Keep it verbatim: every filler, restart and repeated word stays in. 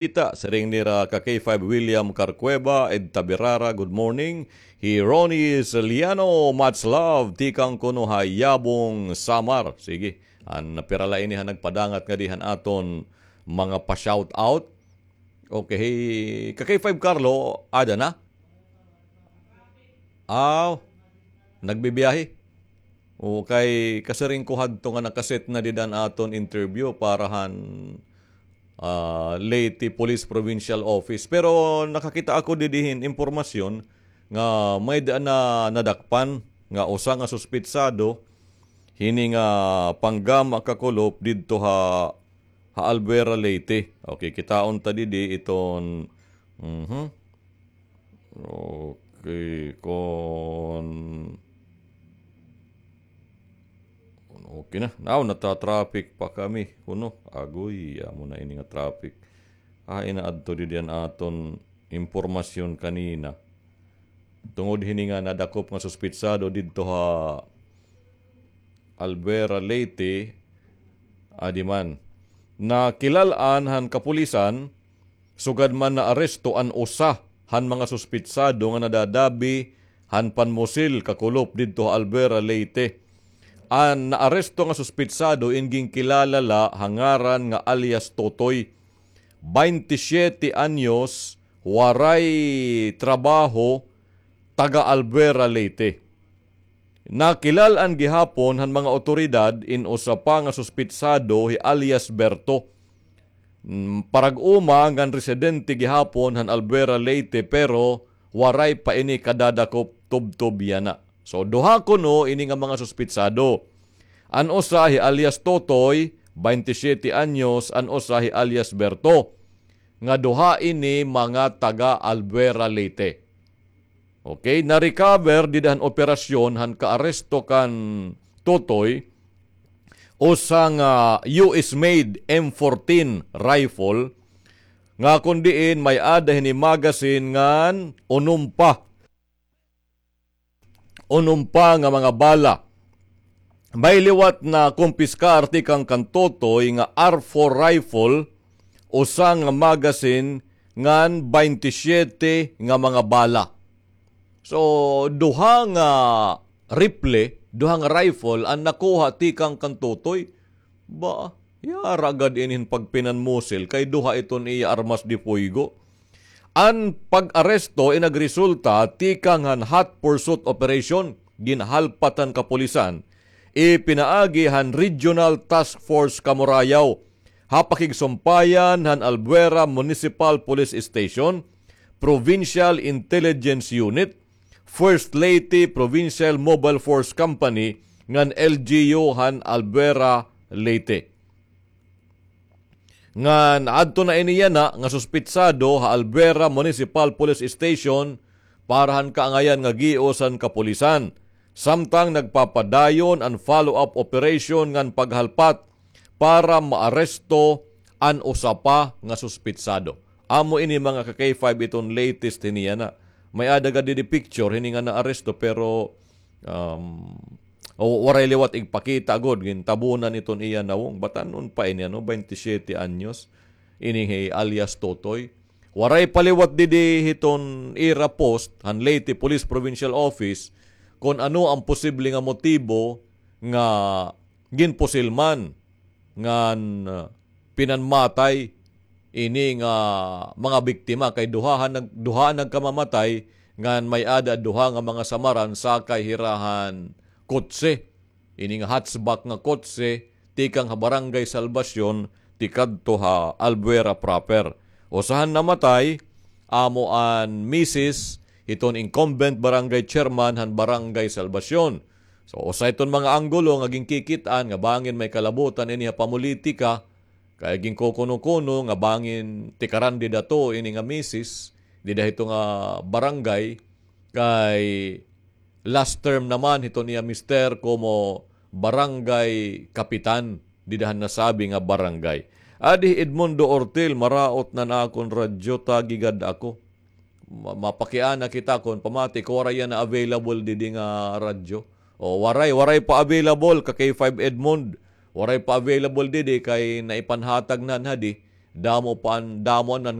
Kita, siring nira ka K five William Carcueva, Ed Tabirara, good morning. Hi Ronnie Saliano, much love, tikang kuno ha Yabong, Samar. Sige, an pira la ini han nagpadangat ngadi han aton mga pa-shout out. Okay, ka K five Carlo, ada na? Aw, nagbibiyahe. O, kay kasiring ko hadto nga nakaset na dida an aton interview para han, ah, Leyte Police Provincial Office. Pero nakakita ako didi hin impormasyon nga may-ada na nadakpan nga usa nga suspitsado hini nga panggama ka kulop didto ha, ha Albuera, Leyte. Okay, kitaon ta didi iton, mhm. Okay, kon, kon okay na. Now, nata-traffic pa kami. Kuno, agoy, amo na ini nga traffic. Ah, inaadto didi an aton impormasyon kanina. Tungod hini nga nadakop nga suspitsado didto ha Albuera, Leyte, adi man. Nakilal-an han kapulisan, sugad man naaresto an usa han mga suspitsado nga nadadabi han panmusil ka kulop didto ha Albuera, Leyte. An naaresto nga suspitsado in ginkilala la ha ngaran nga alias Totoy, baynte siyete anyos, waray trabaho, taga Albuera, Leyte. Nakilal-an gihapon han mga otoridad in usa pa nga suspitsado, hi alias Berto. Mm, parag-uma ngan residente gihapon han Albuera, Leyte, pero waray pa ini kadadakop tubtob yana. So, duha kuno ini nga mga suspitsado. An usa hi alias Totoy, baynte siyete anyos, an usa hi alias Berto, nga duha ini mga taga Albuera, Leyte. Okay, na-recover dida han operasyon han kaaresto kan Totoy, usa nga U S made M fourteen rifle, nga kon diin may-ada hini magazine ngan unom pa, unom pa nga mga bala. May liwat nakumpiskar tikang kan Totoy nga R four rifle, usa nga magazine, ngan baynte siyete nga mga bala. So, duha nga rifle, duha nga rifle an nakuha tikang kan Totoy. Ba, yara gad ini hin pagpinanmusil kay duha iton iya armas de fuego. An pag-aresto in nagresulta tikang han hot pursuit operation, ginhalpat han kapulisan, ipinaagi han Regional Task Force Kamurayaw, ha pakigsumpayan han Albuera Municipal Police Station, Provincial Intelligence Unit, First Leyte Provincial Mobile Force Company, ngan L G U han Albuera, Leyte. Ngan adto na ini yana nga suspitsado ha Albuera Municipal Police Station para han kaangayan nga gios han kapulisan. Samtang nagpapadayon an follow-up operation ngan paghalpat para maaresto an usa pa nga suspitsado. Amo ini mga ka K five iton latest hini yana. May-ada gad didi picture hini nga naaresto pero, um, o, waray liwat igpakita gud, gintabunan iton iya nawong. Batan-on pa ini, ano, baynte siyete anyos. Ini hi alias Totoy. Waray pa liwat didi hiton ira post han Leyte Police Provincial Office kon ano an posible nga motibo nga ginpusil man ngan, ah, pinanmatay ini nga mga biktima kay duha han nag-, duha nagkamamatay ngan may-ada duha nga mga samaran sakay hira han kotse. Ini nga hatchback nga kotse tikang ha Barangay Salvacion tikadto ha Albuera proper. Usa han namatay, amo an misis hiton incumbent barangay chairman han Barangay Salvacion. So, usa iton mga anggulo nga ginkikit-an nga bangin may kalabutan ini ha pamolitika, kay ginkukuno-kuno nga bangin tikaran dida to ini nga misis, dida hito nga barangay, kay last term naman hiton iya mister komo barangay kapitan dida han nasabi nga barangay. Adi Edmundo Ortil, maraot na an akon radyo, tagi gad ako. Ma-, mapakiana kita kon pamati ko waray yana available didi nga radyo. O, waray, waray pa available ka K five Edmond. Waray pa available didi kay naipanhatag na hadi. Damo pa, damo an